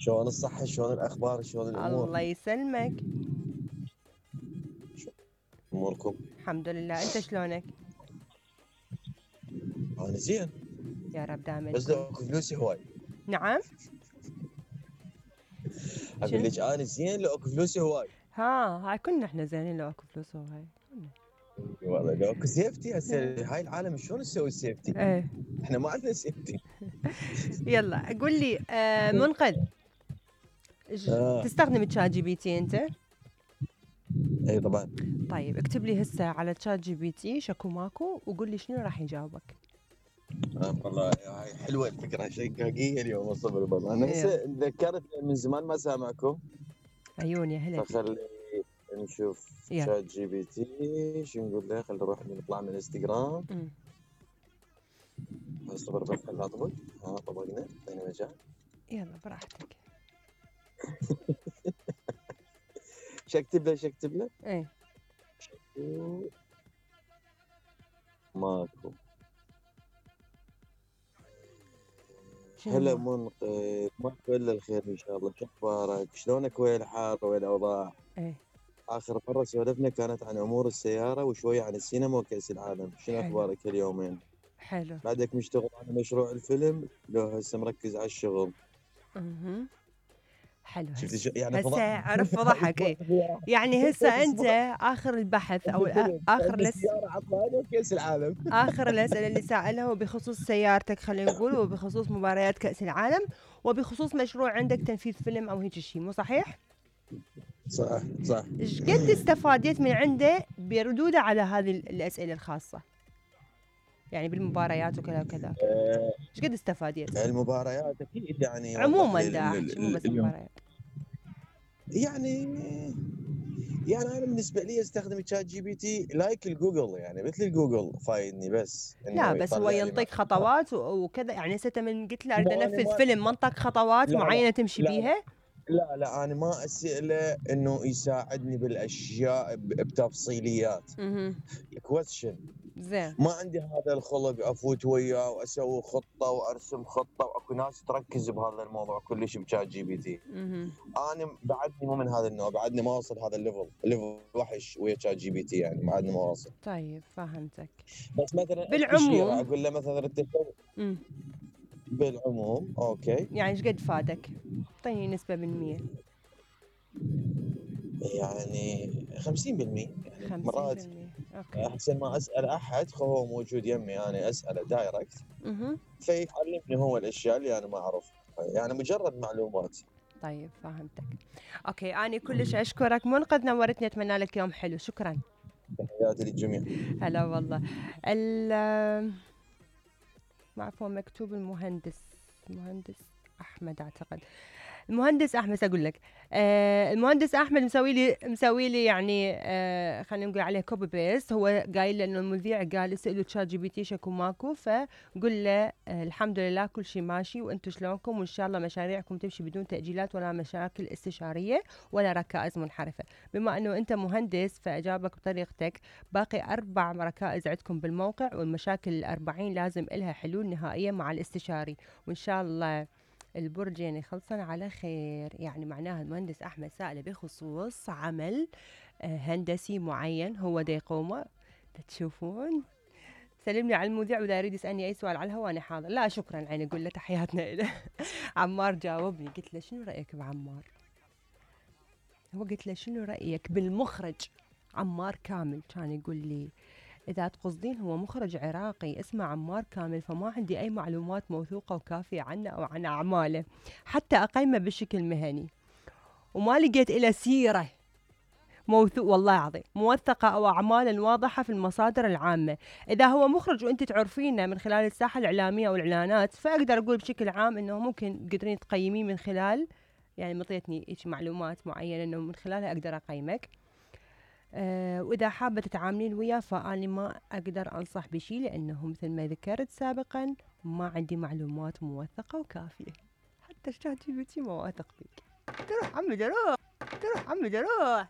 شلون الصحة، شلون الأخبار، شلون الأمور؟ الله يسلمك. أموركم؟ الحمد لله، انت شلونك؟ أنا زين، يا رب دائما بس لو تكون. اكو فلوسي هواي. نعم. أقول شنو؟ لك أنا زين لو اكو فلوسي هواي. هاي كنا احنا زينين لو اكو فلوس وهاي كنا. والله لو اكو سيفتي هسه هاي العالم شلون نسوي السيفتي؟ ايه. احنا ما عندنا سيفتي. يلا قول لي منقذ، آه. تستخدم تشات جي بي تي انت؟ اي طبعا. طيب اكتب لي هسه على تشات جي بي تي شكو ماكو وقول لي شنو راح يجاوبك. والله هاي حلوه الفكره، شقاقيه اليوم الصبر والله. انا يلا. هسه تذكرت من زمان ما سامعكم. عيون يا هلا فيك. فخلي نشوف يلا. شات جي بي تي شو نقول له. خلي نروح نطلع من الانستغرام. اصبر بس خليها اطبق. طبقنا اعطيني مجال. يلا براحتك. شو اكتب له؟ شو اكتب له؟ ايه. ماكو. شنو هلا ما؟ منقذ، ماكو الا الخير ان شاء الله. شو اخبارك؟ شلونك ويا الحار ويا الاوضاع؟ ايه. اخر مره سولفنا كانت عن امور السياره وشويه عن السينما وكاس العالم. شنو حلو. اخبارك اليومين؟ حلو. بعدك مشتغل على مشروع الفيلم لو هسه مركز على الشغل؟ حلو. شفت هسه يعني هسه عرف فضحك. ايه يعني هسه انت اخر البحث او اخر السياره عطلانه وكاس العالم. اخر الاسئله اللي سالها وبخصوص سيارتك خلينا نقول، وبخصوص مباريات كاس العالم، وبخصوص مشروع عندك تنفيذ فيلم او هيك شيء، مو صحيح؟ صح صح. ايش قد استفاديت من عنده بردوده على هذه الاسئله الخاصه؟ يعني بالمباريات وكذا وكذا. ايش قد استفاديت؟ المباريات اكيد يعني يوضح عموما لي دا احكي مو بس اليوم. مباريات. يعني يعني انا بالنسبه لي استخدم تشات جي بي تي لايك الجوجل، يعني مثل الجوجل فايدني بس لا انه بس هو يطلع لي ينطيك خطوات وكذا، يعني هسه من قلت له اريد مو انا انفذ ما فيلم منطق خطوات لا لا معينه تمشي لا لا بيها. لا انا ما اساله انه يساعدني بالاشياء بتفصيليات. كويستشن. زين. ما عندي هذا الخلق افوت وياه واسوي خطه وارسم خطه، واكو ناس تركز بهذا الموضوع كلش بشات جي بي تي. انا بعدني مو من هذا النوع، بعدني ما وصل هذا الليفل وحش ويا شات جي بي تي، يعني بعدني ما واصل. طيب فهمتك. بس مثلا استشيره بالعموم. اقول له مثلا بالعموم اوكي. يعني ايش قد فادك؟ اعطيني نسبة بالمية. يعني 50%. يعني مرات 50%. اوكي. احسن ما اسال احد، هو موجود يمي انا اساله دايركت فيعلمني هو الاشياء اللي انا ما اعرفها، يعني مجرد معلومات. طيب فهمتك. اوكي اني كلش اشكرك منقذ، نورتني، اتمنى لك يوم حلو، شكرا. تحياتي للجميع. هلا والله. عفوا مكتوب المهندس احمد اعتقد. المهندس احمد اقول لك. المهندس احمد مسوي لي يعني خلينا نقول عليه كوبي بيست. هو قايل له انه المذيع قال اسالوا تشات جي بي تي شكو ماكو، فقل له الحمد لله كل شيء ماشي وانتم شلونكم، وان شاء الله مشاريعكم تمشي بدون تاجيلات ولا مشاكل استشاريه ولا ركائز منحرفه. بما انه انت مهندس فاجابك بطريقتك. باقي 4 ركائز عندكم بالموقع، والمشاكل ال40 لازم لها حلول نهائيه مع الاستشاري، وان شاء الله البرج يعني خلصنا على خير. يعني معناها المهندس أحمد سائله بخصوص عمل هندسي معين هو دا يقومه. تشوفون. سلمني على المذيع وإذا يريد يسألني أي سؤال على الهواء أنا حاضر. لا شكرا عيني، أقول له تحياتنا إله. عمار جاوبني، قلت له شنو رأيك بعمار؟ هو قلت له شنو رأيك بالمخرج عمار كامل؟ كان يقول لي إذا تقصدين هو مخرج عراقي اسمه عمار كامل، فما عندي أي معلومات موثوقة وكافية عنه أو عن أعماله حتى أقيمه بشكل مهني، وما لقيت إله سيرة والله العظيم موثقة أو أعمال واضحة في المصادر العامة. إذا هو مخرج وأنت تعرفينه من خلال الساحة الإعلامية أو الإعلانات، فأقدر أقول بشكل عام أنه ممكن تقدرين تقيمين من خلال، يعني مطيتني إيش معلومات معينة أنه من خلالها أقدر أقيمك. وإذا حابة تتعاملين وياه فأنا ما أقدر أنصح بشي، لأنه مثل ما ذكرت سابقا ما عندي معلومات موثقة وكافية. حتى شات جي بي تي ما واثق فيك. تروح عمي دروح.